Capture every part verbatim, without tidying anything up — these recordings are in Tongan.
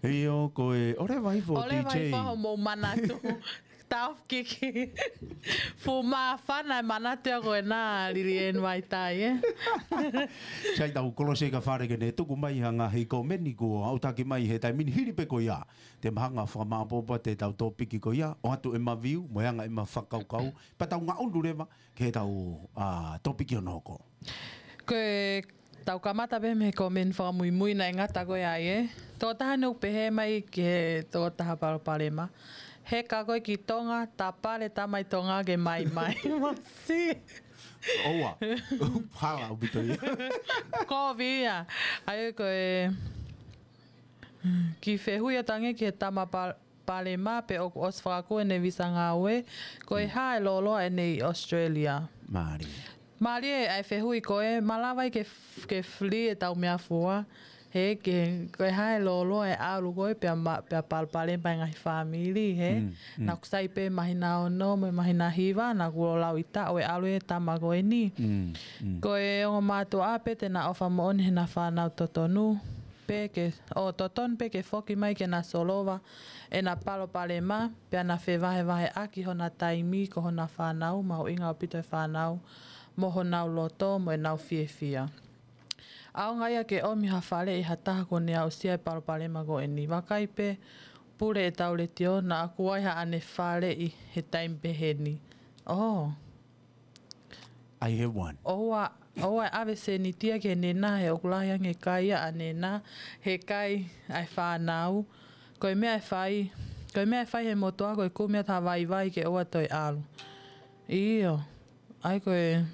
ʻIo, ko e, ʻoleva hifo ʻOleva D J. Hifo hoʻomou manatu. Tau kiki. Fuʻu māfana e manatu ia ko ena Lilieni Vaitai, ē? Sai tau kolose ka fale ke ne tuku mai ha ngaahi komeni kuo aʻutaki mai he taimi ni hili pē ko ia. Te mahanga fakamāpopo atu ʻetau tōpiki ko ia, ʻoatu ʻema view, mo e anga ʻema fakakaukau, pea tau ngaʻunu leva, ke tau, ʻa, tōpiki ʻo noko. Ko e tau kamata pē mei he komeni fakamuimui naʻe ngata ko ē ai, ē. Tokotaha ne u pehē mai ki he tokotaha palopalema. Heka koe ki Tonga, tapale tamai Tonga ke mai mai. Masi. ʻOua. Hala ʻaupito ia. Kovi ia. ʻAi ko e ki fehuʻi atu ange ki he tama pal-, palopalema pe ʻoku ʻosi fakakū ʻene visa ngāue, ko e hā e lōloa ʻene ʻi Australia. Mālie. Mālie ʻa e fehuʻi ko ē, malava ai ke f-, ke fili ʻetau meʻafua. He ke, ko e hā e lōloa e ʻalu ko ē pea ma-, pea palopalema e ngaahi fāmili, he. Mm, mm. Naʻa ku sai pē māhina ono mo e māhina hiva, naʻa ku lau ʻi taʻu e ʻalu e tama ko eni. Mm, mm. Ko e ongo mātuʻa pē te na ʻofa moʻoni he na fānau totonu. Pē ke, ʻo totonu pē ke foki mai ke na solova ʻena palopalema, pea na fevahevaheʻaki hona taimi ko hona fānau, mahuʻinga ʻaupito e fānau, mo honau loto, mo ʻenau fiefia. ʻAonga ia ke ʻomi ha faleʻi ha taha kuo ne aʻusia e palopalema ko eni. Vakai pē, pule ʻetau letiō, naʻa ku ʻi ai haʻane faleʻi he taimi pehē ni. Oh. I have one. ʻOua, ʻoua ʻe ʻave sēniti ia ki he nena, he ʻoku lahi ange e kai ia ʻa nena, he kai ʻa e fānau. Ko e meʻa ʻe fai, ko e meʻa ʻe fai he motuʻa ko e kumi atu ha vaivai ke ʻoua toe ʻalu. ʻIo, ʻai ko e,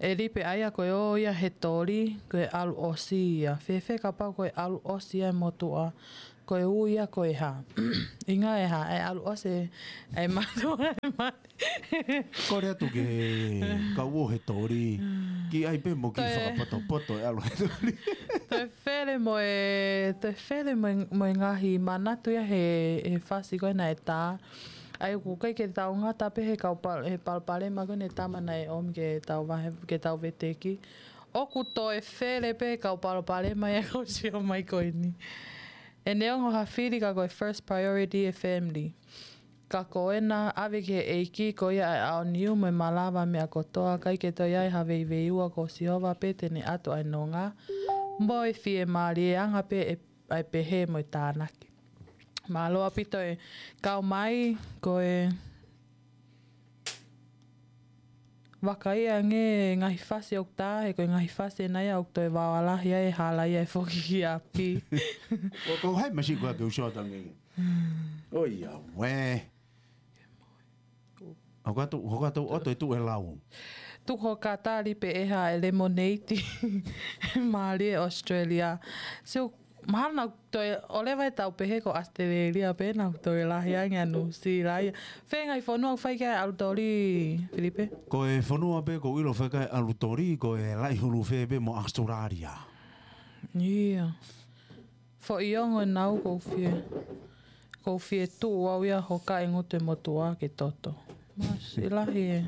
ʻe lipe ʻai ia ko e ō ia he toli, ko e ʻalu ʻosi ia. Fēfē kapau ko e ʻalu ʻosi ia e motuʻa, ko e ui ia ko e hā. ʻInga e hā, e ʻalu ʻosi, e mātuʻa, e mate. Kole atu ke kau ō he toli. Ki ai pē mo ki toe fakapotopoto e ʻalu he toli. Toe fele mo e, toe fele mo e, mo e ngaahi manatu ia he, he fasi ko ē naʻe tā. ʻAi ʻoku ʻikai ke tau ngata pē he kau pal-, he palopalema ko ē ne tama naʻe ʻomi ke tau vahe, ke tau veteki. ʻOku toe fele pē kau palopalema ia ʻoku sio mai ko eni. ʻE neongo ha fili ka ko e first priority e family. Ka ko ena ʻave ki he ʻEiki ko ia ʻa e ʻaoniu mo e malava meʻa kotoa, ʻikai ke toe ʻi ai ha veiveiua, ko Sihova pē te ne ʻatu ʻa e nonga. Mo e fiemālie, anga pē ʻe, ʻa e pehē mo e tānaki. Mālō ʻaupito e kau mai, ko e vakai ange ngaahi fasi ʻoku tā, he ko e ngaahi fasi ena ia ʻoku toe vaoa lahi ai e hala ia ʻe foki ki ʻapi. Ko, ko hai masi ko ake uso atu ange. ʻOiauē. Hoko atu, hoko atu ʻoto e tuʻu e lau. Tuku ho katali pē ʻe hā e lemonade. Mālie Australia. So, mahalo naʻa toe, ʻoleva ʻetau pehē ko Australia pē, naʻa toe lahi ange ʻa Nuʻusila ia. Fē ngaahi fonua ʻoku fai ki ai e ʻalu toli, Filipe? Ko e fonua pē ʻoku ou ʻilo fai ki ai e ʻalu toli, ko e Laʻihulufē pē mo Australia. ʻIo. Foʻi ongo ʻenau ʻoku ou fie, ʻoku ou fie tuʻu au ia hoka e ngutu e motuʻa ke toto. Masi lahi e.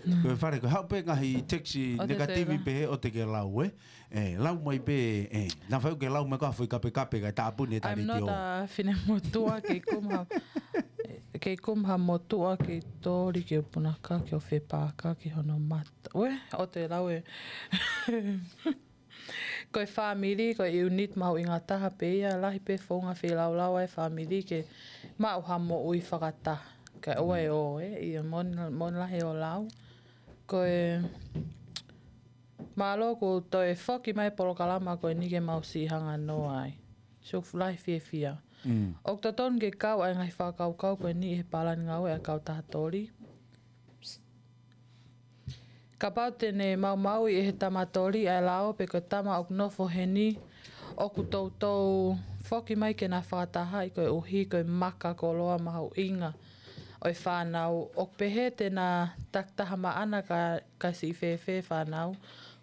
Ko e fale, ko e haʻu pē ngaahi text negative pē he ʻoua te ke lau, ē? Ē, lau mai pē, ē, naʻa faʻu ke lau mai ka foʻi kapekape ka tāpuni e taliti. I'm not a fine motuʻa, kei kumi ha, kei kumi ha motuʻa, kei toli, kei punaka, kei o fepaka, kei hono mata. Ue, ʻoua te lau e. Ko e fāmili, ko e unit mahuʻinga taha pē ia, lahi pē founga feilaulau ʻa e fāmili ke maʻu ha moʻui fakataha. Ka ʻoua ʻe ō, ē, ʻio, mon, mon lahi ʻo lau. Ko e mālō kuo toe foki mai e polokalama ko eni ke mau siʻi hanga noa ai. So lahi fiefia. Mm. ʻOku totonu ke kau ʻa e ngaahi fakakaukau ko eni he palani ngāue ʻa e kautaha toli. Kapau te ne maumauʻi ʻe he tama toli ʻa e lao pe ko e tama ʻoku nofo heni, ʻoku toutou foki mai ke na fakatahaʻi koeʻuhi ko e maka koloa mahuʻinga ʻo e fānau. ʻOku pehē te na takitaha maʻana ka, ka siʻi fēfē fānau.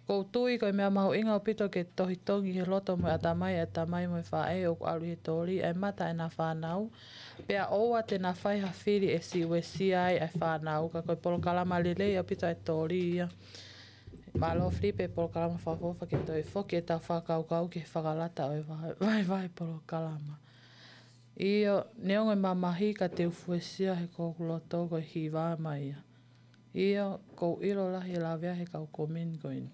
ʻOku ou tui ko e meʻa mahuʻinga ʻaupito ke tohitongi he loto mo e ʻatamai ʻa e tamai mo e faʻē ʻoku ʻalu ʻi he toli ʻa e mata ʻena fānau. Pea ʻoua te na fai ha fili ʻe siʻi uesia ai ʻa e fānau, ka ko e polokalama lelei ʻaupito ʻa e toli ia. Mālō Filipe, polokalama fakaʻofoʻofa ke toe foki ʻetau fakakaukau ki he fakalata ʻo e vahevahe polokalama. ʻIo, neongo e mamahi ka te u fuesia he ko hoku loto ko e hiva mai ia. ʻIo, ʻoku ou ʻilo lahi e lavea he kau komeni ko eni.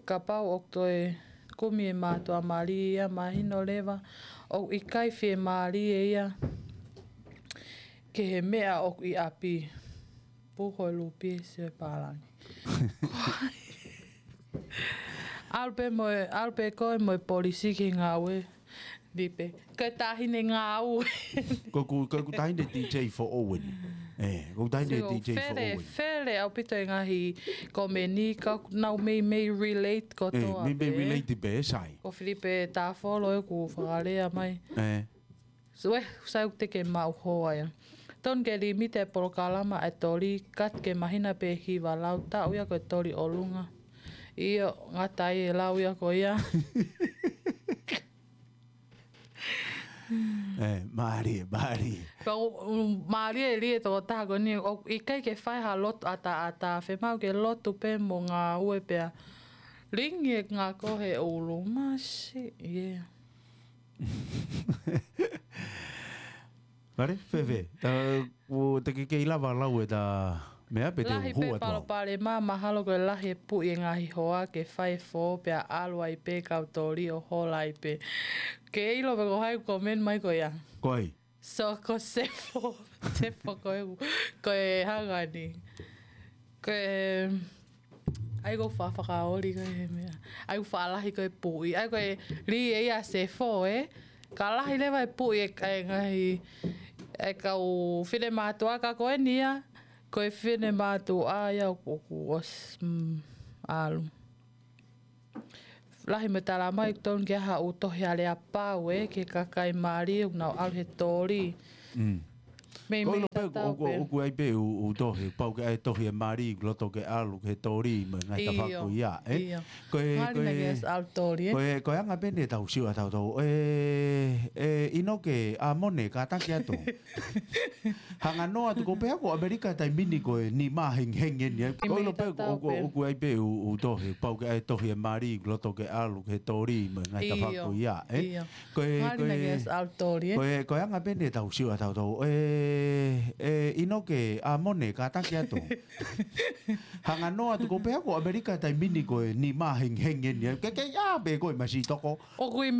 Kapau ʻoku toe kumi e mātuʻa mali ia, mahino leva ʻoku ʻikai fiemālie ia ki he meʻa ʻoku ʻi ʻapi. Puho e lupi e sio e pālangi. ʻAlu pē mo e, ʻalu pē koe mo e polisi ki he ngāue. Lipe. Ko e taʻahine ngāue. Ko ʻeku, ko ʻeku taʻahine D J foʻou eni. ʻE, ko ʻeku taʻahine D J foʻou eni. Fele ʻaupito e ngaahi komeni ka nau meimei relate kotoa pē. Meimei relate pē, sai. Ko Filipe Tāfolo ʻoku fakalea mai. ʻE. Sue, sai ʻoku te ke maʻu hoa ia. Tonu ke limite e polokalama e toli, kat ke mahina pē hiva lau taʻu ia ko e toli ʻolunga. ʻIo, ngata ai e lau ia ko ia. ʻE, mālie, mālie. Ka u, u, mālie e lie toko taha ko eni, ʻoku ʻikai ke fai ha lotu ʻataʻatā, fiemaʻu ke lotu pē mo ngāue pea. Lingi e ngako he ʻulu, masi, yeah. Mālie, fēfē, ta, ʻoku te ke kei lava lau e ta meʻa pe te u hū atu au. Lahi pē palopalema, mahalo ko e lahi e puʻi e ngaahi hoa ke fai e fō pea ʻalu ai pē kau toli ʻo hola ai pē. Ke ʻilo pe ko hai ʻoku komeni mai ko ia. Ko ai? So ko Sefo, Sefo ko e, ko e hangani. Ko e, ʻai ko fa fakaoli ko e meʻa. ʻAi ko fa lahi ko e puʻi. ʻAi ko e li e ia Sefo, ē. Ka lahi leva e puʻi e, e ngaahi, e kau finemātuʻa ka ko eni ia. Ko e finemātuʻa ia ʻoku, ʻoku ʻosi, mm, ʻalu. Lahi mo e tala mai, tonu ke ʻai haʻu tohi aleapau, ē, ki he kakai mali, ʻoku nau ʻalu he toli. Mm. Meimei tatau pē. Ko e ʻilo pē ʻoku, ʻoku, ʻoku ʻi ai pē ʻū, ʻū tohi, pau ke ʻai tohi e mali, loto ke ʻalu ki he toli, mo e ngaahi tafaʻaki ko ia, ē? ʻIo. Ko e, ko e, ko e anga pē eni ʻetau sio ʻa tautolu. ʻE, ʻe, ʻInoke, ʻa Mone, kātaki atu. Hanga noa atu ko pea ko ʻAmelika taimi ni ko e nima hengihengi eni. Ko e ʻilo pē ʻoku, ʻoku ʻi ai pē ʻū, ʻū tohi, pau ke ʻai tohi e mali, loto ke ʻalu ki he toli, mo e ngaahi tafaʻaki ko ia, ē? ʻIo. Ko e, ko e, ko e anga pē eni ʻetau sio ʻa tautolu. ʻE, ʻe, ʻInoke, ʻa Mone, kātaki atu. Hanga noa atu ko pea ko ʻAmelika taimi ni ko e nima hengihengi eni. Ke, ke, ʻa, pē ko e masi toko. ʻOku ʻi